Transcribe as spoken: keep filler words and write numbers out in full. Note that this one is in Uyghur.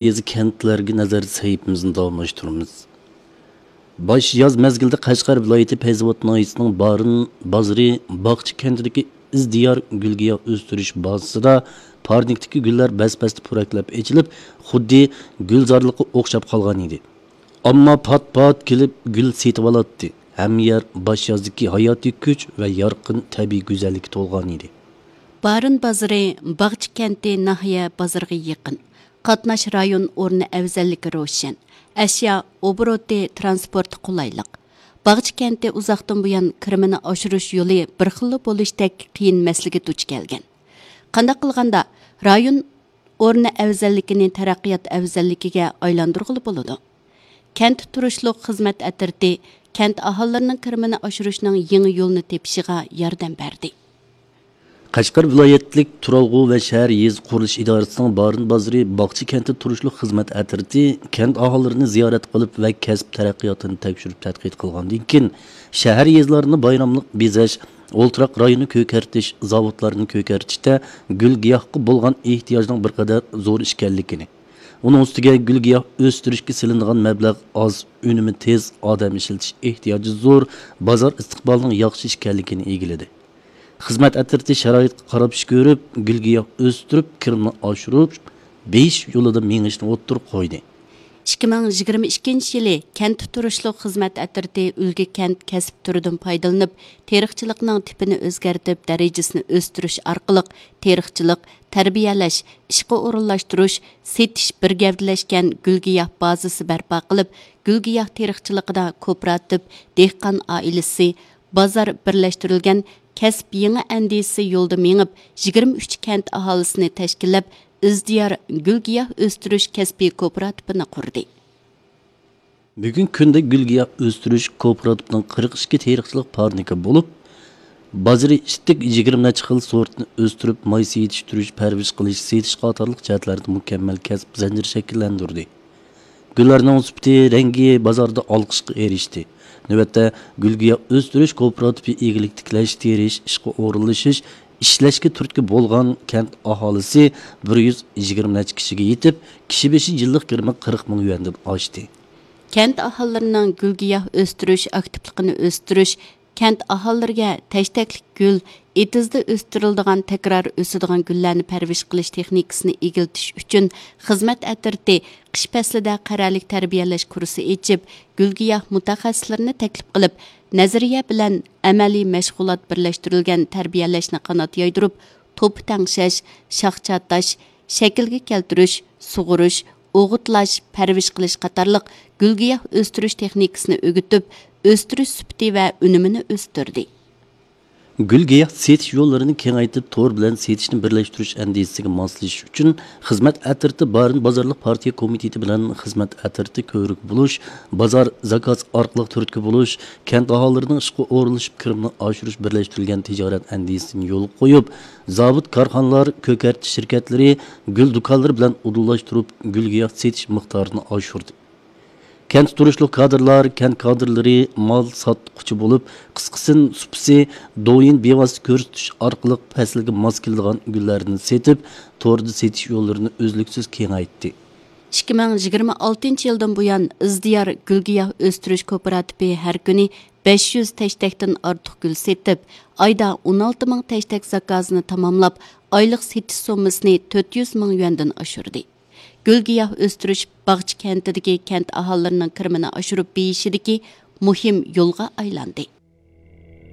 يېزا، كەنتلەرگە نەزەر سەھىپىمىزنى داۋاملاشتۇرىمىز. باش ياز مەزگىلىدە قەشقەر ۋىلايىتى پەيزاۋات ناھىيىسىنىڭ بارىن بازىرى باغچە كەنتىدىكى ئىزدىيار گۈل-گىياھ ئۆستۈرۈش بازىسىدا پارنىكتىكى گۈللەر بەس-بەستە پۇراكلاپ ئېچىلىپ، خۇددى گۈلزارلىققا ئوخشاپ قالغان ئىدى. ئامما پات-پات كېلىپ گۈل سېتىۋالاتتى. ھەممە يەر باش يازدىكى ھاياتىي كۈچ ۋە يارقىن تەبىئىي گۈزەللىككە تولغان ئىدى. بارىن بازىرى باغچە كەنتى ناھىيە بازىرىغا يېقىن. قاتناش رايون ئورنى ئەۋزەللىكى روشەن. ئەشيا ئوبوروتى، تىرانسپورتى قولايلىق. باغچە كەنتى ئۇزاقتىن بۇيان كىرىمىنى ئاشۇرۇش يولى بىر خىللا بولۇشتەك قىيىن مەسىلىگە دۇچ كەلگەن. قانداق قىلغاندا رايون ئورنى ئەۋزەللىكىنى تەرەققىيات ئەۋزەللىكىگە ئايلاندۇرغىلى بولىدۇ؟ كەنت تۇرۇشلۇق خىزمەت ئەترىتى كەنت ئاھالىلىرىنىڭ كىرىمىنى ئاشۇرۇشنىڭ يېڭى يولىنى تېپىشىغا ياردەم بەردى. قەشقەر ۋىلايەتلىك تۇرالغۇ ۋە شەھەر يېزا قۇرۇلۇش ئىدارىسىنىڭ بارىن بازىرى باغچە كەنتى تۇرۇشلۇق خىزمەت ئەترىتى كەنت ئاھالىلىرىنى زىيارەت قىلىپ ۋە كەسىپ تەرەققىياتىنى تەكشۈرۈپ تەتقىق قىلغاندىن كېيىن، شەھەر يېزىلارنى بايراملىق بېزەش، ئولتۇراق رايونى كۆكەرتىش، زاۋۇتلارنى كۆكەرتىشتە گۈل-گىياھقا بولغان ئېھتىياجنىڭ بىر قەدەر زور ئىكەنلىكىنى، ئۇنىڭ ئۈستىگە گۈل-گىياھ ئۆستۈرۈشكە سېلىنىدىغان مەبلەغ ئاز، ئۈنۈمى تېز، ئادەم ئىشلىتىش ئېھتىياجى زور، بازار ئىستىقبالىنىڭ ياخشى ئىكەنلىكىنى ئىگىلىدى. خىزمەت ئەترىتى شارائىتقا قاراپ ئىش كۆرۈپ، گۈل-گىياھ ئۆستۈرۈپ، كىرىمنى ئاشۇرۇپ، بېيىش يولىدا مېڭىشنى ئوتتۇرىغا قويدى. ئىككى مىڭ يىگىرمە ئىككىنچى يىلى كەنت تۇرۇشلۇق خىزمەت ئەترىتى ئۈلگە كەنت كەسىپ تۈرىدىن پايدىلىنىپ، تېرىقچىلىقنىڭ تىپىنى ئۆزگەرتىپ، دەرىجىسىنى ئۆستۈرۈش ئارقىلىق تېرىقچىلىق، تەربىيەلەش، ئىشقا ئورۇنلاشتۇرۇش، سېتىش بىر گەۋدىلەشكەن گۈل-گىياھ بازىسى بەرپا قىلىپ، گۈل-گىياھ تېرىقچىلىقىدا كوپىراتىپ، دېھقان ئائىلىسى، بازار بىرلەشتۈرۈلگەن كەسىپ يېڭى ئەندىزىسى يولىدا مېڭىپ، يىگىرمە ئۈچ كەنت ئاھالىسىنى تەشكىللەپ، ئىزدىيار گۈل-گىياھ ئۆستۈرۈش كەسپىي كوپىراتىپىنى قۇردى. بۈگۈنكى كۈندە گۈل-گىياھ ئۆستۈرۈش كوپىراتىپىنىڭ قىرىق ئىككى تېرىقچىلىق پارنىكى بولۇپ، بازىرى ئىتتىك يىگىرمە نەچچە خىل سورتنى ئۆستۈرۈپ، مايسا يېتىشتۈرۈش، پەرۋىش قىلىش، سېتىش قاتارلىق جەھەتلەردە مۇكەممەل كەسىپ زەنجىرى شەكىللەندۈردى. گۈللەرنىڭ سۈپىتى، رەڭگى بازاردا ئالقىشقا ئېرىشتى. نۆۋەتتە، گۈل-گىياھ ئۆستۈرۈش كوپىراتىپى ئىگىلىك تىكلەش، تېرىش، ئىشقا ئورۇنلىشىش، ئىشلەشكە تۈرتكە بولغان كەنت ئاھالىسى بىر يۈز يىگىرمە نەچچە كىشىگە يېتىپ، كىشى بېشى يىللىق كىرىمى قىرىق مىڭ يۈەندىن ئاشتى. كەنت ئاھالىلىرىنىڭ گۈل-گىياھ ئۆستۈرۈش ئاكتىپلىقىنى ئۆستۈرۈش، كەنت ئاھالىلىرىگە تەشتەكلىك گۈل، ئېتىزدا ئۆستۈرۈلىدىغان تەكرار ئۆسىدىغان گۈللەرنى پەرۋىش قىلىش تېخنىكىسىنى ئىگىلىتىش ئۈچۈن خىزمەت ئەترىتى قىش پەسلىدە قەرەلىك تەربىيەلەش كۇرسى ئېچىپ، گۈل-گىياھ مۇتەخەسسىسلىرىنى تەكلىپ قىلىپ، نەزەرىيە بىلەن ئەمەلىي مەشغۇلات بىرلەشتۈرۈلگەن تەربىيەلەشنى قانات يايدۇرۇپ، توپا تەڭشەش، شاخ چاتاش، شەكىلگە كەلتۈرۈش، سۇغۇرۇش، ئوغۇتلاش، پەرۋىش قىلىش قاتارلىق گۈل-گىياھ ئۆستۈرۈش تېخنىكىسىنى ئۆگىتىپ، ئۆستۈرۈش سۈپىتى ۋە ئۈنۈمىنى ئۆستۈردى. گۈل-گىياھ سېتىش يوللىرىنى كېڭەيتىپ، تور بىلەن سېتىشنى بىرلەشتۈرۈش ئەندىزىسىگە ماسلىشىش ئۈچۈن، خىزمەت ئەترىتى بارىن بازارلىق پارتىيە كومىتېتى بىلەن خىزمەت ئەترىتى كۆۋرۈك بولۇش، بازار زاكاز ئارقىلىق تۈرتكە بولۇش، كەنت ئاھالىلىرىنىڭ ئىشقا ئورۇنلىشىپ كىرىمىنى ئاشۇرۇش بىرلەشتۈرۈلگەن تىجارەت ئەندىزىسىنى يولغا قويۇپ، زاۋۇت، كارخانىلار، كۆكەرتىش شىركەتلىرى، گۈل دۇكانلىرى بىلەن ئۇدۇللاشتۇرۇپ، گۈل-گىياھ سېتىش مىقدارىنى ئاشۇردى. كەنتتە تۇرۇشلۇق كادىرلار، كەنت كادىرلىرى مال ساتقۇچى بولۇپ، قىسقىسىنى سۇپىسى، دويىن بىۋاسىتە كۆرسىتىش ئارقىلىق پەسىلگە ماس كېلىدىغان گۈللەرنى سېتىپ، توردا سېتىش يوللىرىنى ئۈزلۈكسىز كېڭەيتتى. ئىككى مىڭ يىگىرمە ئالتىنچى يىلدىن بۇيان، ئىزدىيار گۈل-گىياھ ئۆستۈرۈش كوپىراتىپى ھەر كۈنى بەش يۈز تەشتەكتىن ئارتۇق گۈل سېتىپ، ئايدا ئون ئالتە مىڭ تەشتەك زاكازىنى تاماملاپ، ئايلىق سېتىش سوممىسىنى تۆت يۈز مىڭ يۈەندىن ئاشۇردى. گۈل-گىياھ ئۆستۈرۈش باغچە كەنتىدىكى كەنت ئاھالىلىرىنىڭ كىرىمىنى ئاشۇرۇپ بېيىشىدىكى مۇھىم يولغا ئايلاندى.